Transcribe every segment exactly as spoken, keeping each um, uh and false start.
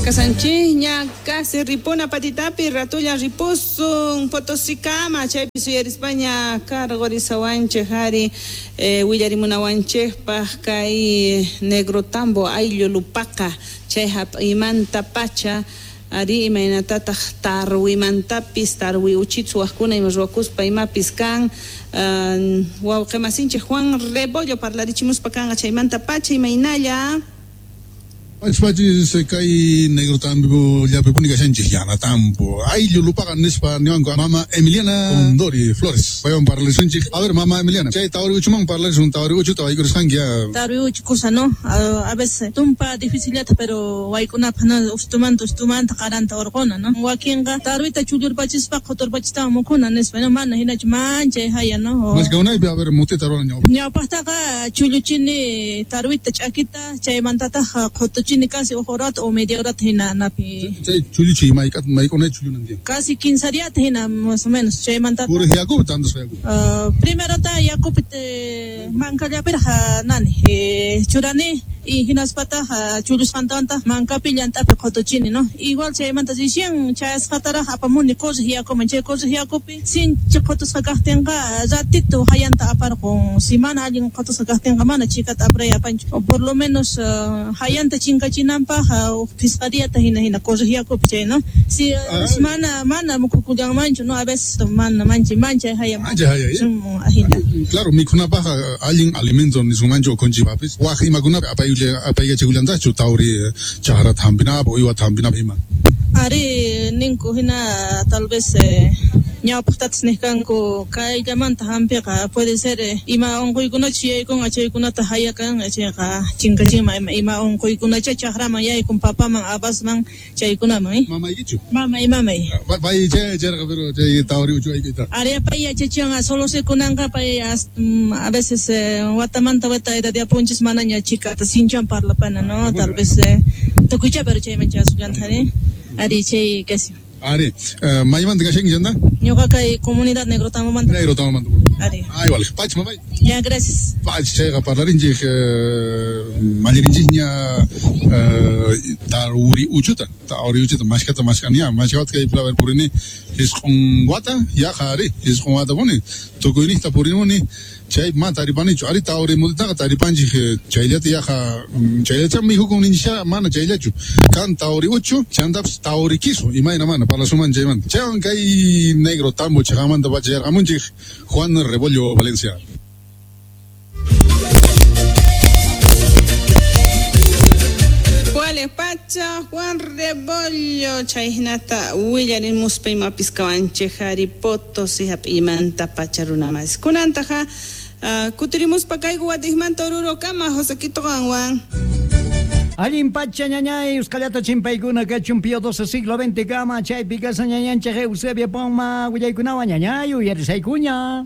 Kasanchikña casi ripuna patitapi ratulla ripusun Potosikama chaypi suyarispaña cargorisawanchik ari eh, willarimunawanchikpaq kay Negro Tambo ayllu lupaqa chay hap'imanta pacha ari imaynatataq tarwimantapis tarwi uchitsu waqkuna ima ruwakuspa imapis kan uh, wawqimasinchik Juan Rebollo parlarichimuspa kanqa chaymanta pacha imaynalla. Pachpachis kay Negro Tambo llapipuni kashanchik yana tambo ayllu lupaqa nispa niwanku mama Emiliana Condori Flores paywan parlarisunchik. A ver mama Emiliana, chay tawri uchuman parlarisun, tawri uchuta waykurisqanki ya. Tawri uchu kusa no, a, a veces tumpa dificillata pero waykunapaq no ustumanta ustumanta qaranta urquna no, wakinqa tarwita chullurpachispa quturpachistawan mukuna nispa no, mana hinachu manchay haya no. Maskaunaypi a ver mutita ruran ñawpaq. Ñawpaqtaqa chulluchini tarwita ch'akita chaymantataq qutu chini casi huk horata o media horata hina napi. Chay chulluchi maykat maykunay chullunan tiyan. Casi quince diata hina más o menos chaymanta. Puriq yakupi tantasqa yakupi. Uh, primerota yakupi mankallapiraq nani eh, churani y hinaspataq chullusqantawantaq mankapi llant'api qutuchini no. Igual chaymanta recién chayasqataraq apamuni quriq yakuman, chay quriq yakupi sinchi qutusqa kaqtinqa ratito hayanta aparqun, si mana allin qutusqa kaqtinqa mana chikata apray apanchu, o por lo menos uh, hayanta chinkachinanpaq uh, phisqa diata hina hina quriq yakupi chay no. Si uh, mana mana mukhukullanmanchu no, a veces mana manchay manchay haya manchay haya ahina. Claro, mikhunapaq allin alimento nisunmanchu ukhunchikpapis waq imakunapi apay apaykachikullantachu tawri chakrata hampinapaq uywata hampinapaq ima. Ari ninku hina tal vez eh, ñawpaqtatas niqkanku kayllamanta hampiqa puede ser eh, ima unquykunachu yaykunqa chaykunata hayakan chayqa chinkachinman ima, ima unquykunacha chakraman yaykun papaman abasman chaykunaman eh. Mamaykichu? Mamay mamay. Pay chay charqa pero chay tawri uchu aykuyta. Ari pay yachachinqa solo se kunanqa pay a veces eh, watamanta wata edadiapunchis manaña chikata sinchan parlapana no, tal vez eh, tukuycha pero chayman chasullantari. Ari chay kasi. Ari, uh, maymanta kashanki chanta? Ñuqa kay comunidad Negro Tambomanta. Negro Tambomanta. Ari. Ay, vale. Pach, mamay. Ya, gracias. Pach, chayqa parlarinchik uh, mallirinchikña uh, tawri uchuta, tawri uchuta mashkata mashkaniya, mashkata kay plaver purini isqun wata, yaqa ari, isqun wata puni, tukuyniqta purinmuni chay ma taripanichu, ari tawri mutitaqa taripanchik chayllata yaqa chayllacha mikhukun ninchisha mana chayllachu, kan tawri uchu, chantapis tawri kisu, imayna mana parlasuman chaymanta. Chaywan kay Negro Tambo chaqamanta pacha yarqamunchik Juan Rebollo Valencia. Pacha Juan Rebollo chayhinata willarimuspa imapis kawanchik ari Potosí hap'imanta pacha runamas kunantaqa uh, kutirimuspa kayku watiqmanta Orurokama Josequito qanwan. Allin pacha ñañay, usqallata chimpaykuna kachun Pío doce siglo veinte kama chaypi kasa ñañanchik Eusebia Poma willaykunawan ñañay uyarisaykuña.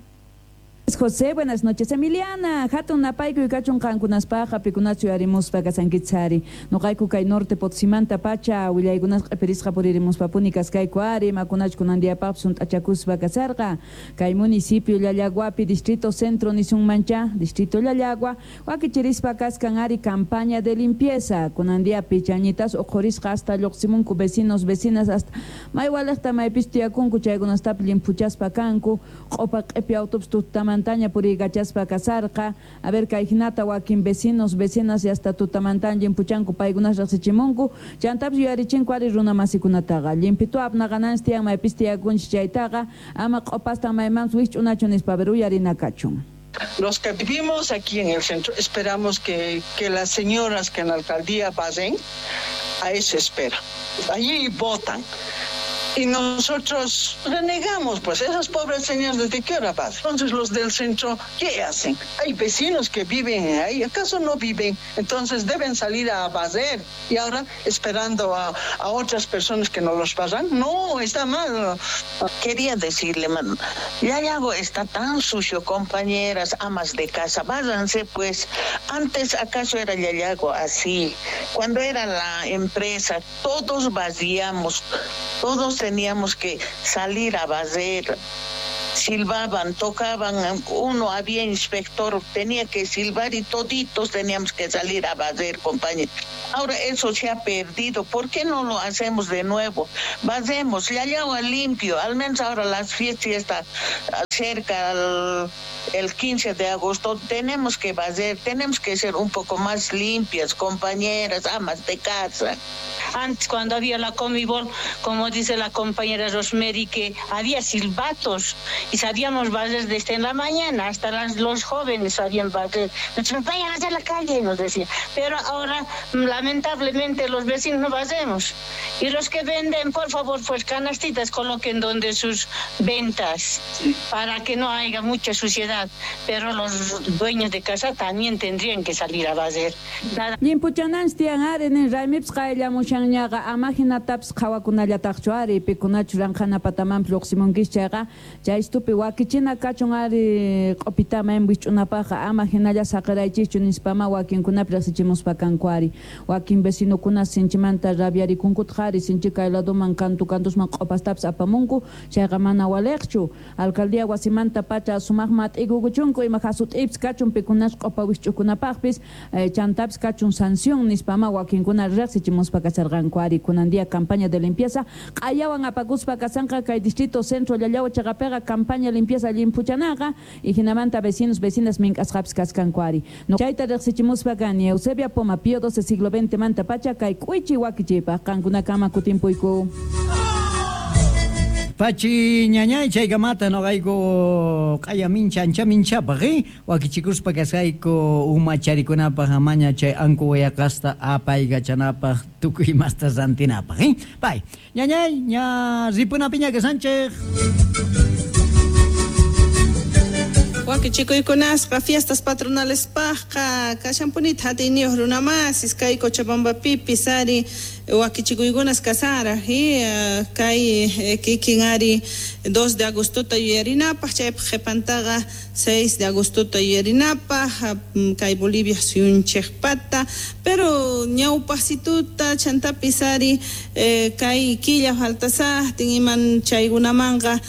José, buenas noches, Emiliana. Hatun napayku kachun qankunaspaqa pikunachu yarimuspa kasankichari. Noqayku kay norte Potosímanta pacha willaykunas q'ipirisqa puririmuspapuni kaskayku ari makunach kunandiapaq sunt'achakuspa kasarqa. Kay municipio Llallaguapi distrito centro nisunmancha distrito Llallagua wakichirispa kaskan ari campaña de limpieza kunandiapi chañitas uqhurisqa hasta lluqsimunku vecinos vecinas hasta maywalaqta maypis tiyakunku chaykunastapi limpuchaspa kanku q'upa q'ipi autobus tutaman Montaña puriykachaspa kasarqa. A ver kay hinata wakin vecinos vecinas y hasta tutamantan llimpuchanku paykunas riqsichimunku chantapis yuyarichinku ari runa masikunataqa limpitu apnaqananchis tiyan maypis tiyakunchis chaytaqa ama q'upastan maymanpis wikch'unachu nispa a ver uyarina kachun. Los que vivimos aquí en el centro esperamos que, que las señoras que en la alcaldía pasen, a eso espera. Allí votan. Y nosotros renegamos, pues, esas pobres señoras, ¿desde qué hora van? Entonces los del centro, ¿qué hacen? Hay vecinos que viven ahí, ¿acaso no viven? Entonces deben salir a barrer y ahora esperando a, a otras personas que no los pasan. No, está mal. Quería decirle, Llallago está tan sucio, compañeras, amas de casa, váyanse pues. Antes acaso era Llallago así. Cuando era la empresa, todos vaciamos, todos teníamos que salir a barrer. Silbaban, tocaban, uno había inspector, tenía que silbar y toditos teníamos que salir a barrer, compañeros. Ahora eso se ha perdido, ¿por qué no lo hacemos de nuevo? Barremos, Llallagua limpio, al menos ahora las fiestas ya está cerca al, el quince de agosto, tenemos que barrer, tenemos que ser un poco más limpias, compañeras, amas de casa. Antes, cuando había la Comibol, como dice la compañera Rosemary, que había silbatos y sabíamos barrer desde en la mañana, hasta las, los jóvenes sabían barrer. Nos vayan hacia la calle, nos decían. Pero ahora, lamentablemente, los vecinos no barremos. Y los que venden, por favor, pues canastitas coloquen donde sus ventas, para que no haya mucha suciedad. Pero los dueños de casa también tendrían que salir a barrer. Nada. Llimpuchananchis tiyan ari nin raymipis qayllamushanñaqa ama hinatapis qhawakunallataqchu ari pikunachu ranqhana patamanpis lluqsimunkis chayqa chaystupi wakichina kachun ari q'upitama wich'unapaqqa ama hinalla saqiraychischu nispama wakinkunapi riqsichimuspa kanku ari wakin vecinokuna sinchimanta rabiarikunkuta ari sinchi kay ladoman kantu kantusman q'upastapis apamunku chayqa mana waliqchu alcaldía wasimanta pacha sumaqma t'ikukuchunku ima hasut'ipis kachun pikunas q'upa wich'ukunapaqpis chantapis kachun sanción nispama wakinkuna riqsichimuspa kasarqanku ari kunan día campaña de limpieza q'ayawan apakuspa kasanqa kay distrito centro Llallagua chaqapiqa campaña limpieza llimpuchanaqa y hinamanta vecinos vecinas mink'asqapis kaskanku ari no chayta riqsichimuspa kani Eusebia Poma Pío doce siglo veinte manta pacha kay k'uychi wakichipaq qankunakama kutimpuyku. Pachi ñañay chaykamata noqayku q'aya mincha ancha minchapaq eh wakichikuspa kasqayku umacharikunapaq amaña chay anku wayaqasta apaykachanapaq tukuy imasta rantinapaq eh pay ñañay ña ripunapiña kasanchej. Wakichikuykunasqa fiestas patronales pajqa kashanpunita hatiyniyuq runamasis kay Cochabambapipis ari wakichikuykunas kasaraj y kay kikin ari dos de agostota yuyarinapaq chaypaq qhipantaqa seis de agostota yuyarinapaq kay Bolivia suyunchikpata pero ñawpaqsituta chantapis ari kay killa faltasaqtin iman chaykunamanqa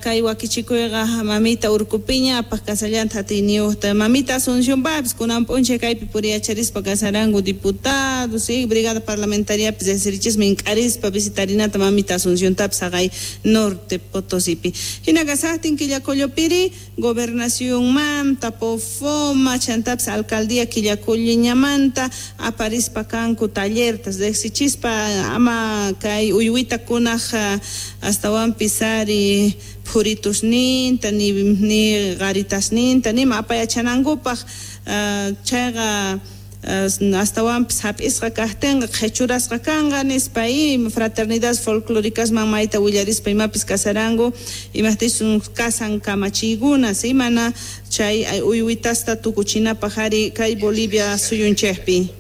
kay wakichikuyqa mamita urkupiña apaq kasallanta hatiyniyuqta mamita Asunción papis kunan p'unchay kaypi puriyacharispa kasaranku diputados y brigada parlamentaria riqsirichismi ink'arispa visitarinata mamita Asunciontapis haqay norte Potosipi hina kasaqtin Quillacollopiri gobernacionmanta Pofoma chantapis alcaldía Quillacolliñamanta aparispa kanku tallertas riqsichispa ama kay uywitakunaj astawanpis ari phuritusninta ni ni qaritasninta nima apayachanankupaq chayqa astawanpis hap'isqa kaqtinqa qhichurasqa kanqa nispa y fraternidades folclóricasman mayta willarispa imapis kasaranku imaqtisun kasan kamachiykuna si mana chay uywitasta tukuchinapaq ari kay Bolivia suyunchikpi.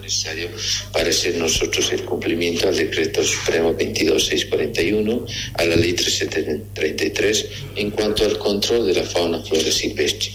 Necesario para hacer nosotros el cumplimiento al decreto supremo veintidós mil seiscientos cuarenta y uno, a la ley trescientos treinta y tres en cuanto al control de la fauna flora silvestre.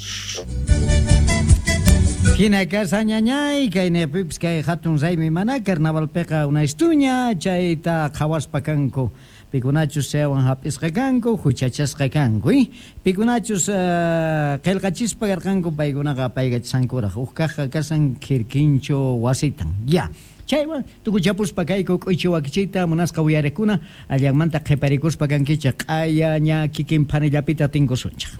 Hina kasa ñañay kay nepipis kay hatun raymi mana carnavalpiqa unaystuña chayta qhawaspa kanku pikunachus chaywan hap'isqa kanku huchachasqa kanku eh? Pikunachus uh, qillqachispa karqanku paykunaqa apaykachankuraq huk kaqqa kasan kirkinchu wasitan ya. Chaywan tukuchapuspa kayku k'uychi wakichiyta munasqa uyariqkuna allanmanta qhiparikuspa kankichik q'aya ña kikin phanillapita tinkusunchik.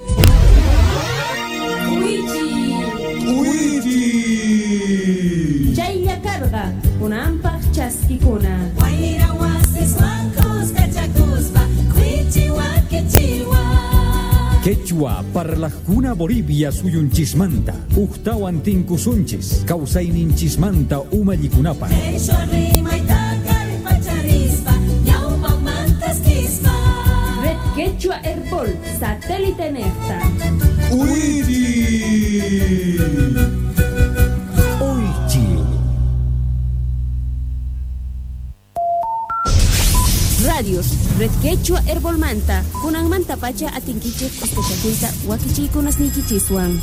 Chaylla karqa kunanpaq chaskikuna. Wayra wasiswan kuskachakuspa k'uychi wakichiwa. Quechua parlajkuna Bolivia suyunchismanta uktawan tinkusunchis kawsayninchismanta umallikunapaq. Quechua rimayta kallpacharispa ñawpamantaskispa. Red Quechua Herbol satélite nefta. Uiri. Radios, Red Quechua Herbolmanta, kunanmanta pacha atinkichik kuskachakuyta wakichiykunasniykichiswan.